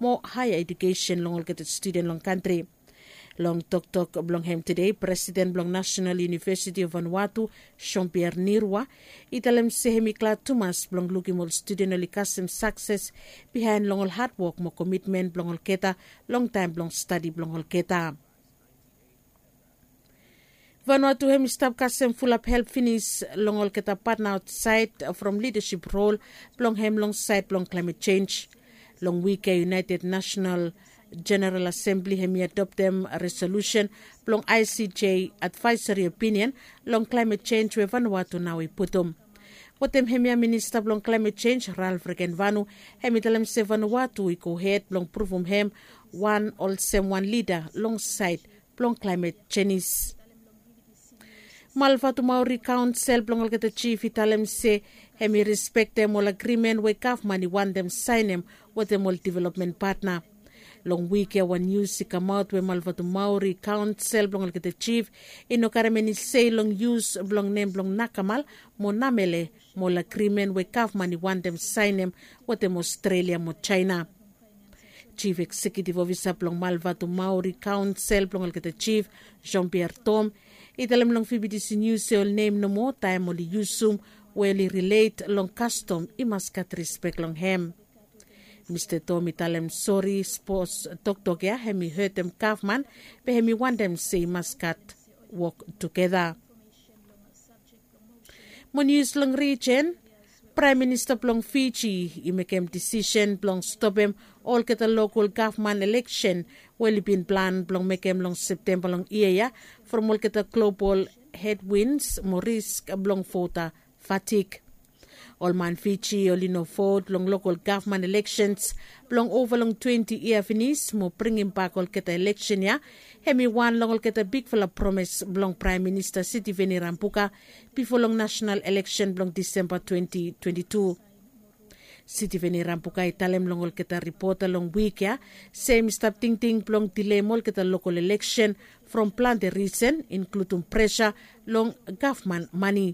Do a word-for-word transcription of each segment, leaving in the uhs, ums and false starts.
mo haea ejukesen long olgeta studen long kantri. Long toktok blong hem tede, presiden blong nasenal univesiti of Vanuatu, Jean Pierre Nirua, i talem se hem i glad tumas blong lukim ol studen oli kasem sakses bihaen long ol hadwok mo komitmen blong olgeta long taem blong stadi blong olgeta. Vanuatu hem i stap kasem fulap help finis long olgeta patna aotsaed from lidasip rol blong hem long saed blong klaemet sens. Long wik ya, United National General Assembly hem i adoptem resolusen blong I C J advaesari opinion long klaemet sens we Vanuatu nao i putum. Wetem hemia, minista blong klaemet sens, Ralph Regenvanu, hem i talem se Vanuatu i gohed blong pruvum hem wan olsem wan lida long saed blong klaemet senis. Malvatumauri Kaonsel blong olgeta jif i talem se hem i respektem ol agrimen we gavman i wantem saenem wetem ol developmen patna. Long wik ya, wan nius i kamaot we Malvatumauri Kaonsel blong olgeta jif i no karem eni sei long yus blong nem blong Nakamal mo Namele mo ol agrimen we gavman i wantem saenem wetem Ostrelia mo Jaena. Jif eksekiutif ofisa blong Malvatumauri Kaonsel blong olgeta jif, Jean Pierre Tom, i talem long V B T C Nius se ol nem nomo taem oli yusum we oli rilet long kastom i mas gat rispek long hem. Mista Tom i talem sori sapos toktok ya hem i hetem gavman, be hem i wantem se i mas gat wok tugeta. Mo nius long rijen, Praem Minista blong Fiji i mekem disisen blong stopem olgeta lokol gavman eleksen we oli bin plan blong mekem long Septemba long yia ya, from olgeta global hedwins mo risk blong vota fatik. Ol man Fiji oli no vot long lokol gavman eleksens blong ova long twenti yia finis mo bringimbak olgeta eleksen ya, hem i wan long olgeta bigfala promes blong Praem Minista Sitiveni Rabuka bifo long nasenal eleksen blong Disemba twenti twenti tu. Sitiveni Rabuka i talem long olgeta ripota long wik ya se hem i stap tingting blong dileim olgeta lokol eleksen from plante risen, inkludum presa long gavman mane.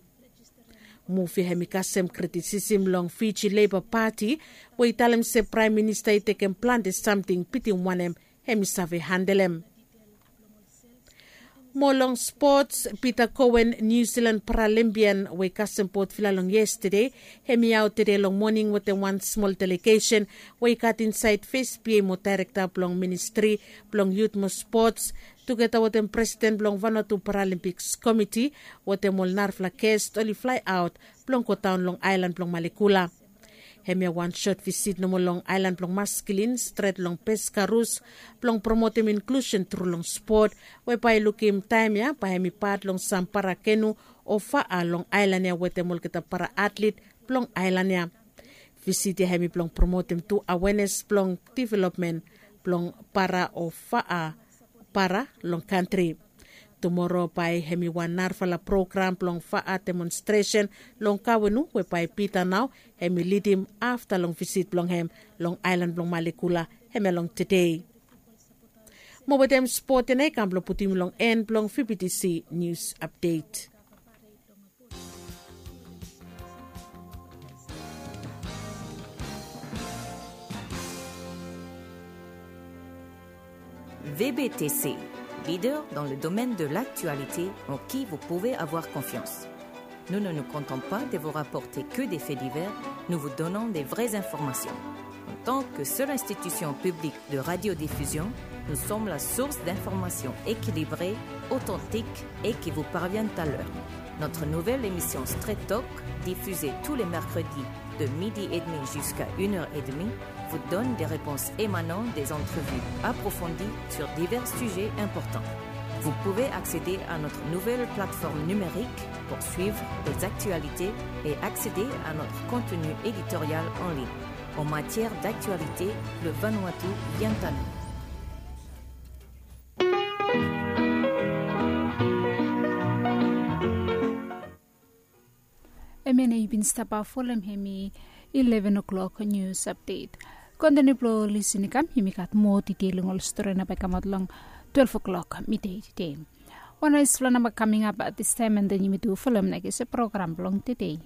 Muv ya hem i kasem kritisim long Fiji Leiba Pati, we i talem se Praem Minista i tekem plante samting bitim wanem hem i save handelem. Mo long spots, Pita Koen, Niu Silan paralimpian we i kasem botvila long yestede, hem i aot tede long moning wetem wan smol delegesen we i gat insaed fes bia mo daerekta blong ministri blong yut mo spots, tugeta wetem presiden blong Vanuatu Paralimpiks Komiti, wetem ol narafala gest oli flae aot blong godaon long aelan blong Malekula. Hemia wan sot visit nomo long aelan blong Maskilin stret long Peskarus blong promotem inklusen tru long spot, we bae i lukim taem ya bae hem i pat long sam para kenu o faa long aelan ya wetem olgeta para atlit blong aelan ya. Visit ya hem i blong promotem tu awenes blong developmen blong para o faa para long kantri. Tumoro bae hem i wan narafala program blong faa demonstresen long Kawenu, we bae Pita nao hem i lidim afta long visit blong hem long aelan blong Malekula hemia long tede. Mo wetem spot ya nao i kam blong putum long en blong V B T C Nius Apdet. V B T C, leader dans le domaine de l'actualité en qui vous pouvez avoir confiance. Nous ne nous contentons pas de vous rapporter que des faits divers, nous vous donnons des vraies informations. En tant que seule institution publique de radiodiffusion, nous sommes la source d'informations équilibrées, authentiques et qui vous parviennent à l'heure. Notre nouvelle émission Straight Talk, diffusée tous les mercredis de midi et demi jusqu'à une heure et demie, vous donne des réponses émanant des entrevues approfondies sur divers sujets importants. Vous pouvez accéder à notre nouvelle plateforme numérique pour suivre les actualités et accéder à notre contenu éditorial en ligne. En matière d'actualité, le Vanuatu vient à nous. Hemia nao i bin stap folem hem i eleven o'clock news update. Kontiniu blong lisin i kam, yumi gat moa ditel long ol stori nao bae i kamaot long twelve o'clock midei tede. Wan naesfala namba kaming ap distaem, and then yumi tu folem nao i gat se program blong tede.